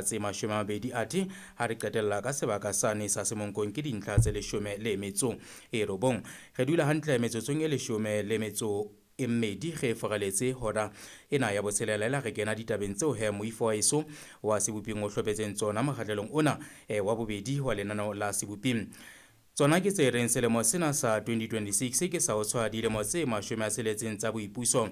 Tse 20, athe ha re qetella ka sebaka sane sa Semonkong ke dintlha tse 19. Re dula hantle metsotsong e 12 re foraletse hora ena ya botshelela ela re kena ditabeng tseo he moifo wa eso wa Seboping o hlophetseng tsona mokgahlelong ona wa bobedi wa lenaneo la Seboping. Tsona ke tse reng selemo sena sa 2026 ke sa ho tshwaya dilemo tse 60 tsa boipuso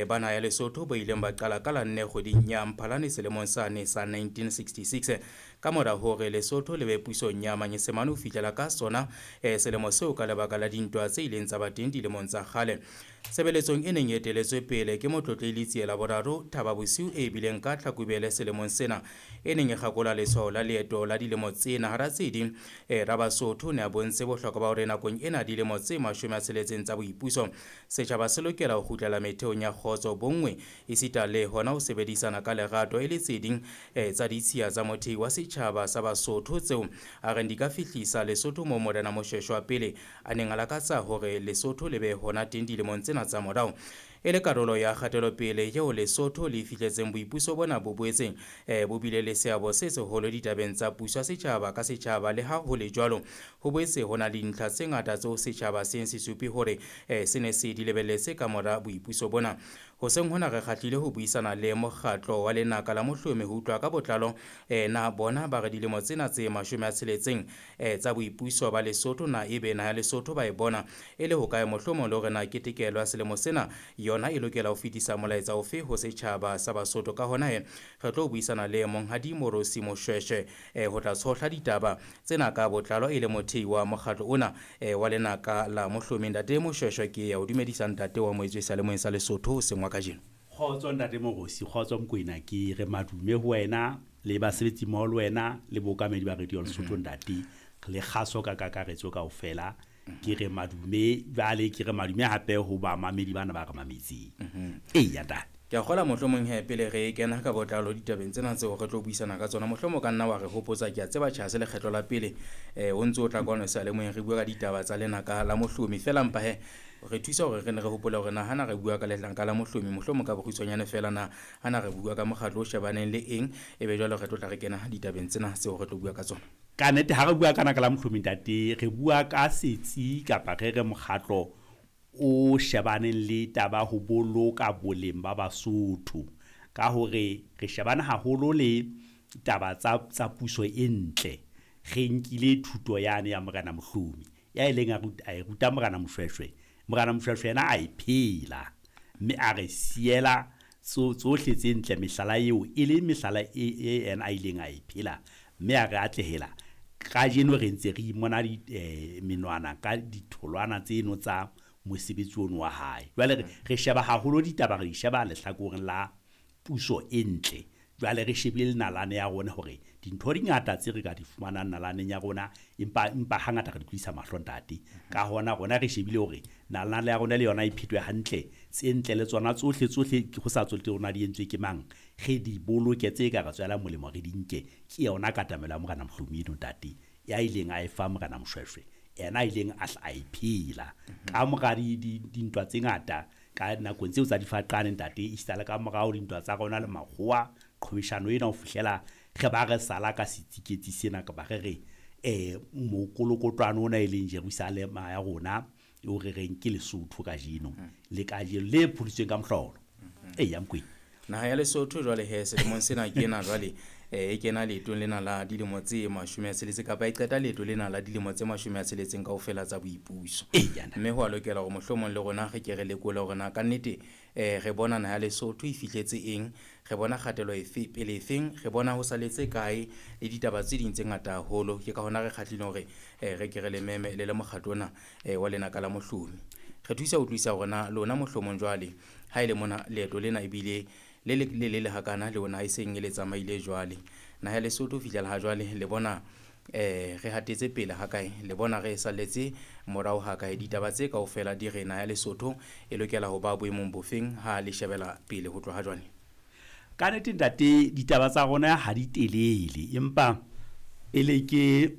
ba naha ya Lesotho bo ileng ba qala ka la 4 kgweding ya Mphalane selemong sane sa 1966 ka mora hore Lesotho le be pusong ya Manyesemane ho fihlela ka sona selemo seo ka lebaka la dintwa tse ileng tsa ba teng dilemong tsa kgale. Tshebeletsong e neng e eteletswe pele ke Motlotlehi Letsie la Boraro Thaba Bosiu e bileng ka Tlhakubele selemong sena e neng e kgakola letshwao la leeto la dilemo tsena hara tse ding Rabasotho ne a bontse bohlokwa ba hore nakong ena dilemo tse 60 tsa boipuso setjhaba se lokela ho kgutlela metheong ya kgotso, bonngwe esita le hona ho sebedisana ka lerato e le tse ding tsa ditshiya tsa mothei wa setjhaba sa Basotho tseo a reng di ka fihlisa Lesotho moo Morena Moshweshwe wa pele a neng a lakatsa hore Lesotho le be hona teng dilemong tsena tsa morao. E le karolo ya kgatelopele eo Lesotho le fihletseng boipuso bona bo boetseng bo bile le seabo se seholo ditabeng tsa puso ya setjhaba ka setjhaba. Le ha ho le jwalo, ho boetse ho na le dintlha tse ngata tseo setjhaba seng se supe hore se ne se di lebelletse ka mora boipuso bona. Hoseng hona re kgahlile ho buisana le mokgatlo wa Lenaka la Mohlomi ho utlwa ka botlalo na bona ba re dilemo tsena tse 60 tsa boipuso ba Lesotho na ebe naha ya Lesotho ba e bona e le hokae, mohlomong le hore na ketekelo ya selemo sena yona e lokela ho fetisa molaetsa ofe ho setjhaba sa Basotho. Ka hona he re tlo buisana le Monghadi Morosi Moshweshwe ho tla tshohla ditaba tsena ka botlalo e le mothei wa mokgatlo ona wa Lenaka la Mohlomi. Ntate Moshweshwe, ke ya o dumedisa ntate wa moetswe seyalemoyeng sa Lesotho hoseng wa kajeno. Kgotso ntate Morosi, kgotso Mokoena, ke re madume ho wena le basebetsi mmoho le wena le bookamedi ba Radio Lesotho ntate, le kgaso ka kakaretso kaofela. Ke re madume, jwale ke re madume hape ho bamamedi bana ba re mametseng. Eya ntate. Ke a kgola mohlomong he pele re kena ka botlalo ditabeng tsena tseo re tlo buisana ka tsona, mohlomong ka nna wa re hopotsa, ke a tseba tjha se lekgetlo la pele o ntse o tla kwano seyalemoyeng re bua ka ditaba tsa Lenaka la Mohlomi. Feela mpa he re thusa hore re ne re hopole hore na hana re bua ka Lenaka la Mohlomi mohlomong ka bokgutshwanyane feela na hana re bua ka mokgatlo o shebaneng le eng, ebe jwale re tlo tla re kena ditabeng tsena tseo re tlo bua ka tsona. Ka nnete ha re bua ka Lenaka la Mohlomi ntate, re bua ka setsi kapa re re mokgatlo o shebaneng le taba ho boloka boleng ba Basotho, ka hore re shebane haholo le taba tsa puso e ntle. Re nkile thuto yane ya Morena Mohlomi ya ileng a e ruta Morena Moshweshwe. Morena Moshweshwe yena a e phela mme a re siela tsohle tse ntle, mehlala eo e le mehlala e yena a ileng a e phela mme a re atlehela. Kajeno re ntse re imona menwana ka ditholwana tseno tsa mosebetsi ono wa hae. Jwale re sheba haholo ditaba, re di sheba lehlakoreng la puso e ntle. Jwale re shebile le nalane ya rona hore dintho di ngata tse re ka di fumanang nalaneng ya rona, empa hangata re di tlodisa mahlo ntate. Ka hona rona re shebile hore nalane ya rona le yona e phetwe hantle, tse ntle le tsona tsohle tsohle ho sa tsotellehe hore na di entswe ke mang, re di boloke tse ka re tswelang molemo re di nke. Ke yona katamelo ya Morena Mohlomi eno ntate, ya ileng a e fa Morena Moshweshwe, yena a ileng a hla a e phela ka mora dintwa tse ngata ka nakong tseo tsa difaqane ntate, esita le ka morao dintwa tsa rona le makgowa, qhwebeshano ena ho fihlela re ba re sala ka setsiketsi sena, kapa re re mokolokotwane ona e leng Jerusalema ya rona eo re reng ke Lesotho kajeno le kajeno le phodisitsweng ka mohlolo. Eya Mokoena. Naha ya Lesotho jwale he selemong sena ke ena jwale e kena leetong lena la dilemo tse 60 kapa e qeta leeto lena la dilemo tse 60 kaofela tsa boipuso. Mme ho a lokela hore mohlomong le rona re ke re lekole hore na kannete re bona naha ya Lesotho e fihletse eng, re bona kgatelo efe pele efeng, re bona ho saletse kae le ditaba tse ding tse ngata haholo. Ke ka hona re kgahlile hore re ke re le meme le le mokgatlo ona wa Lenaka la Mohlomi. Re thusa ho utlwisisa hore na lona mohlomong jwale ha e le mona leeto lena ebile le le le le hakana le ona e seng e le tsamaile jwale. Naha ya Lesotho ho fihlela ha jwale le bona re hatetse pele ha kae, le bona re salletse morao ha kae. Ditaba tse kaofela di re naha ya Lesotho e lokela ho ba boemong bofeng ha le shebela pele ho tloha jwale. Ka nnete ntate, ditaba tsa rona ha di telele, empa pele ke